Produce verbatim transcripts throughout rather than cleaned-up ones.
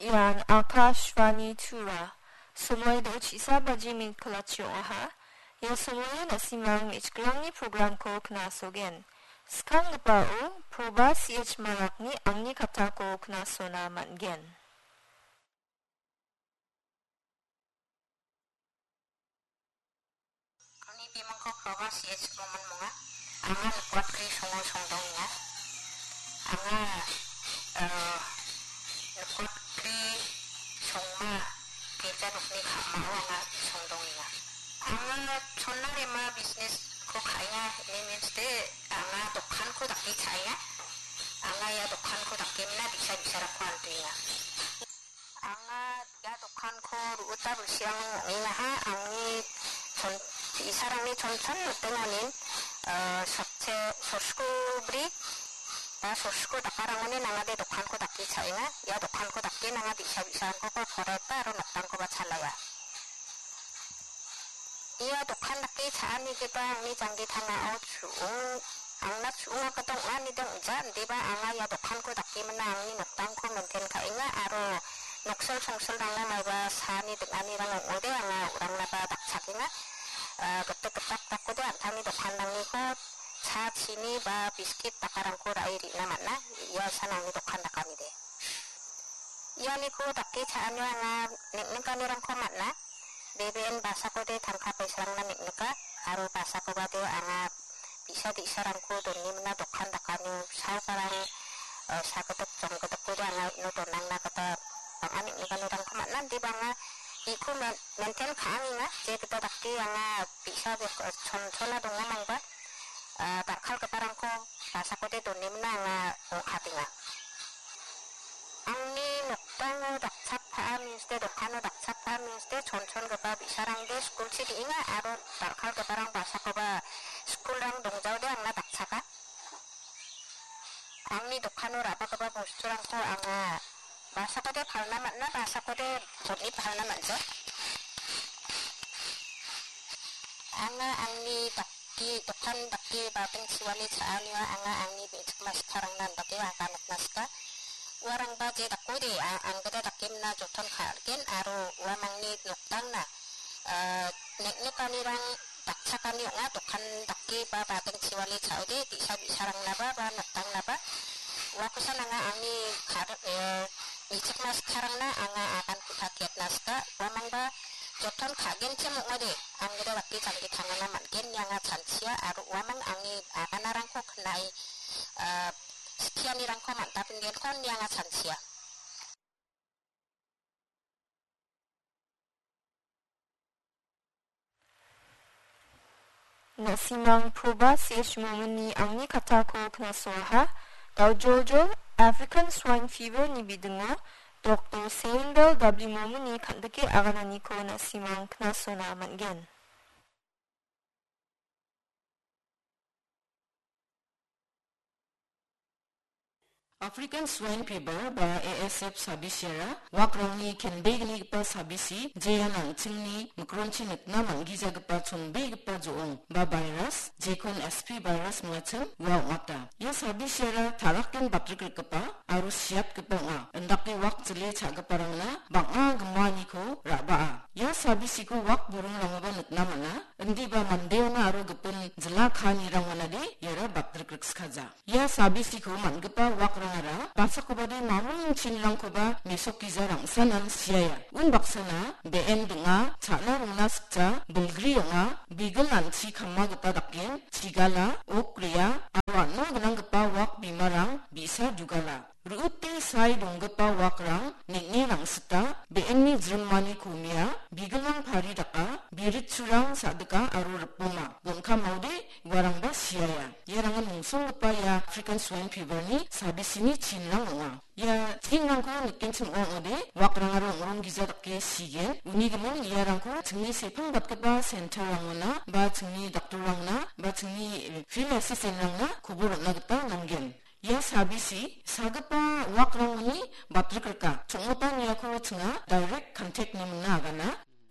Ian Akashvani Tura. Somoi do chisa baji min kelachi ong·aha. Ia somoio na·simang me·chikrangni programko knasogen. Skanggipao Proba C H Marakni angni katako knasona man·gen. Angni bimangko Proba C H Roman monga. Anga nikwatkri songo songdongenga. Anga, eh, nikwatkri songma girja nokni ka·mao anga songdongenga. Anga chonna rema business-ko ka·enga, ine means de anga dokanko dake cha·enga. Anga ia dokanko dake mina bi·sa bi·sarangko antoenga. Anga ia dokanko ru·ota bilsirang ong·engaha, angni chon-, bi·sarangni chonchon notenganin, eh, sotse-, sosko bri ba sosko dakarangoni nangade dokanko dake cha·enga. Ia dokanko dake nanga bi·sa bi·sarangkoba poraiba aro nokdangkoba chalaia. Ia dokan dake cha·anigipa angni janggi tangao chu·ong, angna chu·ongako dong·anide ong·ja, indiba anga ia dokanko dake mina angni nokdangko maintain ka·enga aro noksil songsilrangna maiba saani ding·anirang ong·ode anga urangnaba dakchakenga. Ah, gitik gitak dakode an·tangni dokanrangniko cha, chini ba biskit dakarangko ra·e re·na man·a. Ia san angni dokan dakanide. Ianiko dake cha·anio anga neng·nikanirangko man·a. Beben basakode tangka paisarangna neng·nika, aro basakobade anga bi·sa di·sarangko done mina dokan dakanio saokarang, eh, sagidik jonggidikode anga uno donangna gita bang·a neng·nikanirangko man·a. Indiba anga iko men-, maintain ka·angenga, je gita dake anga bi·sa bek-, eh, chon-, chona dongamangba, eh, dal·kalgiparangko basakode done mina anga ong·katenga. Angni nokdango dakchakpaa means de, dokano dakchakpaa means de, chonchongipa bi·sarangde skulchi re·enga aro dal·kalgiparang basakoba skulrang dongjaode angna dakchaka. Angni dokano ra·bagipa bosturangko anga basakode palna man·a, basakode botni palna man·ja. Anga angni dak-, dake, dokan dake bading chiwani cha·anio anga angni me·chikma sikarangna andake aganatna sika. Uarangba je dakode, a-, anggita dake mina joton ka·gen aro uamangni nokdangna, ah, neng·nikanirang dakchakani ong·a, dokan dake ba bading chiwani cha·ode, bi·sa bi·sarangnaba ba nokdangnaba. Uakosan anga angni kar-, eh, me·chikma sikarangna anga agan ku·patiatna sika. Uamangba joton ka·genchim ong·ode, anggita dake janggi tangana man·gen ine anga chanchia aro uamang angni aganarangko knae, ah, skianirangko man·tapengenko ine anga chanchia. Na·simang Proba C H Mominni angni katako knasoaha. Daojoljol African Swine Fever-ni bidingo Doktor Seinbel W Mominni kan·dike agananiko na·simang knasona man·gen. African Swine Fever ba A S F sabisiara wakrangni kenbegnigipa sabisi, jean an·chingni mikronchi nikna man·gijagipa chonbegipa jo·ong ba virus, jekon S P virus mingachim ua ong·ata. Ia sabisiara ta·rakgen batrikgrikgipa aro siatgipa ong·a. Indake wak jile cha·giparangna bang·a gimaaniko ra·baa. Ia sabisiko wak buringrangoba nikna man·a. Indiba mandeona aro gipin jila kaanirangonade iara batrikgrikskaja. Ia sabisiko man·gipa wakrangara basakobade mamung chinirangkoba mesokgija rangsanan siaia. Unbaksana be·en ding·a, cha·na rongna sikja, bilgri ong·a, bigil an·chi kama gita daken, chigala, ok rea, aro an·o gnanggipa wak bimarang bi·sa dugala. Ru·ute sae donggipa wakrang neng·e rangsita, be·enni jrimani komia, bigilrang pari daka, biritsurang sa·dika aro ripoma. Gon·kamaode uarangba siaia. Iarangan mongsonggipa ia African Swine Fever-ni sabisini chinrang ong·a. Ia chinrangko nikenchim ong·ode, wakrangara ong·ronggija dake sigen. Uni gimin iarangko chingni sepangbatgipa center-rangona, ba chingni doctor-rangna, ba chingni field assistant-rangna kobor on·na gita nanggen. Ia sabisi sagipa wakrangoni batrikgrika. Chong·gipa niako chinga direct contact-ni mingna agana.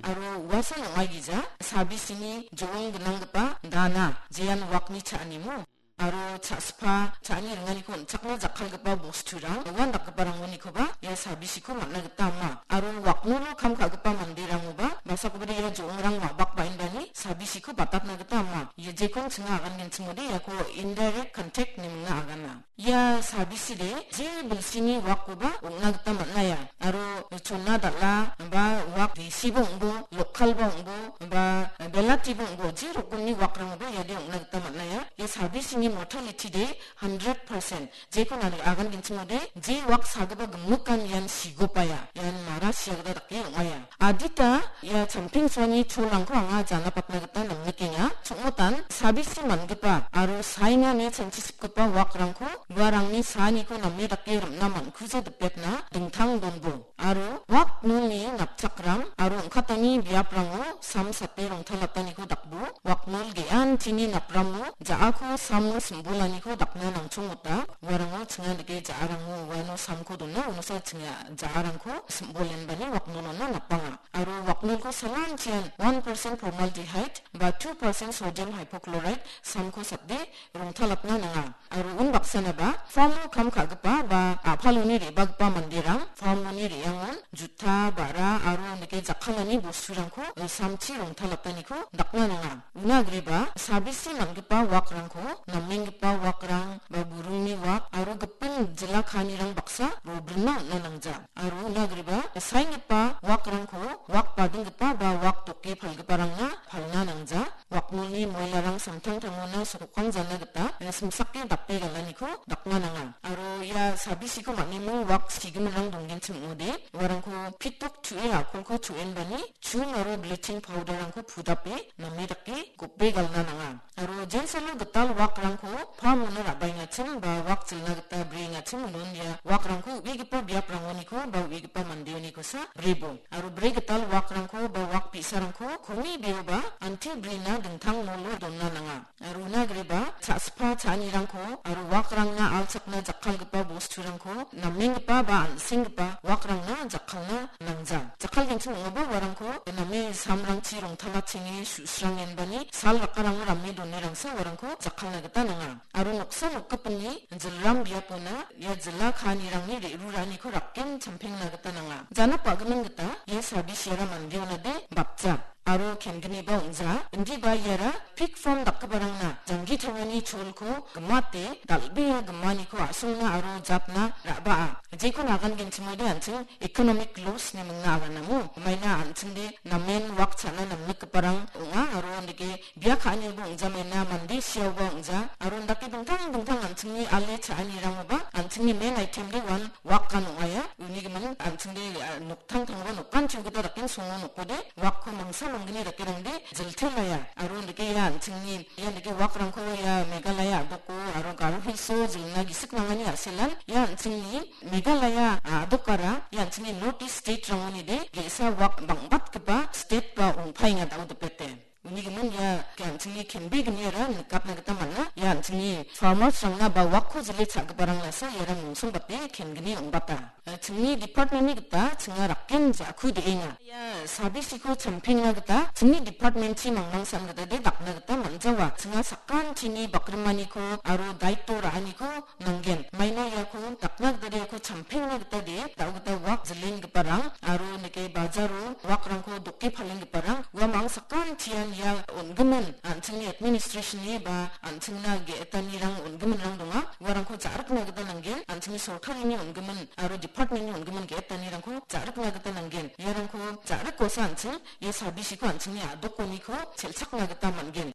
Aro uasan ong·aigija sabisini jo·ong gnanggipa dana jean wakni cha·animo. aro cha·spa, cha·ani ringaniko on·chakna jakkalgipa bosturang, uan dakgiparangonikoba ia sabisiko man·na gita ama. Aro waknolo kam ka·gipa manderangoba, masakobade ia jo·ongrang wa·bak ba·enbani sabisiko batatna gita ama. Ia jekon chinga agangenchimode iako indirect contact ine mingna agana. Ia sabiside je bilsini wakkoba ong·na gita man·aia. Aro chona dal·a ba wak desiba ong·bo, lokalba ong·bo, ba belatiba ong·bo, je rokomni wakrangoba iade ong·na gita man·aia. Ia sabisini mortality de hundred percent. Jekon ani agangenchimode, je wak sagipa gimikan ian sigopaia, ian mara sia gita dake ong·aia. Adita ia champengsoani cholrangko anga janapatna gita namnikenga. Chongmotan, sabisi man·gipa aro sainani chanchisigipa wakrangko uarangni saaniko name dake rim·na man·kuja dipetna dingtang donbo. Aro waknolni napchakram aro ong·katani biaprango sam sate rongtalataniko dakbo. Waknol ge·antini napramo ja·ako samo simbolaniko dakna nangchongmota. Uarango chinga dake ja·arango uano samko dona, unosa chinga ja·arangko simbolenbani waknolona napanga. Aro waknolko salanchian one percent formaldehyde ba two percent sodium hypochlorite samko sate rongtalatna nanga. Aro unbaksanaba farmo kam ka·gipa ba a·paloni re·bagipa manderang farmoni re·angon juta, ba·ra aro nike jakkalani bosturangko samchi rongtalataniko dakna nanga. Una agreba sabisi man·gipa wakrangko, namenggipa wakrang ba burungni wak aro gipin jila kaanirang baksa robrilna on·a nangja. Aro una agreba saenggipa wakrangko wak badinggipa ba wak doke palgiparangna palna nangja. Waknolni moilarang samtangtangona sokokang jana gita, eh, simsake dape galaniko dakna nanga. Aro ia sabisiko man·eming wak sigiminrang donggenchim ong·ode, uarangko pitok chu·e a·kolko chu·enbani chun aro bleaching powder-rangko pudape name dake gope galna nanga. Aro jensalo gital wakrangko pamona ra·baengachim ba wak jilna gita breengachim unon ia wakrangko u·egipa biaprangoniko ba u·egipa mandeonikosa brebo. Aro bre gital wakrangko ba wak bi·sarangko koni beoba anti brina dingtang molo donna nanga. Aro una agreba cha·spa cha·anirangko aro wakrangna alchakna jakkalgipa bosturangko namenggipa ba an·senggipa wakrangna jakkalna nangja. Jakkalgenchim ong·aba uarangko name samrangchi rongtalatchenge su·srangenbani sal rakarango rame donerangsa uarangko jakkalna gita nanga. Aro noksa nokgipinni jilram biapona ia jila kaanirangni re·ruraaniko rakken champengna gita nanga. Janap a·gimin gita ia sabisiara mandeonade bapja aro kengnigniba ong·ja. Indiba iara pig farm dakgiparangna janggi tangani cholko gimate dal·bea gimaniko a·songna aro jatna ra·baa. Jekon agangenchimode an·ching economic loss ine mingna aganamo. Maina an·chingde namen wak cha·na namnikgiparang ong·a aro andike bia ka·aniba ong·jamaina mande siaoba ong·ja aro indake dingtang dingtang an·chingni ale cha·anirangoba an·chingni main item de uan wakan ong·aia. Uni gimin an·chingde, ah, noktangtangba nokan chogita daken songo nokode wakko mangsa manggni dakerangde jiltelaia. Aro indake ia an·chingni, ia indake wakrangko ia Meghalaya a·doko aro Garo Hills-o jilna gisik nangani a·selan ia an·chingni Meghalaya a·dokara ia an·chingni North East state-rangoni de ge·sa wak bang·batgipa state ba ong·paenga da·o dipete. Uni gimin ia an·chingni kenbegniara nikatna gita man·a. Ia an·chingni farmers-rangna ba wakko jile cha·giparang lasa iara mungsongbate kengni ong·bata. Chingni department-ni gita chinga rakken ja·ku de·enga. Ia sabisiko champengna gita chingni department-chi mangmangsan gita de dakna gita man·jawa. Chinga sakanchini bakrimaniko aro daito ra·aniko nanggen. Maina iako dakna gita de iako champengna gita de, da·o gita wak jilenggiparang aro nike bajaro wakrangko doke palenggiparang uamang sakantian ia on·gimin an·chingni administration-ni ba an·chingna ge·etanirang on·giminrang donga. Uarangko ja·rikna gita nanggen, an·chingni sorkarini on·gimin aro department-ni on·gimin ge·etanirangko ja·rikna gita nanggen. Iarangko ja·rikosa an·ching ia sabisiko an·chingni a·dokoniko sel·chakna gita man·gen.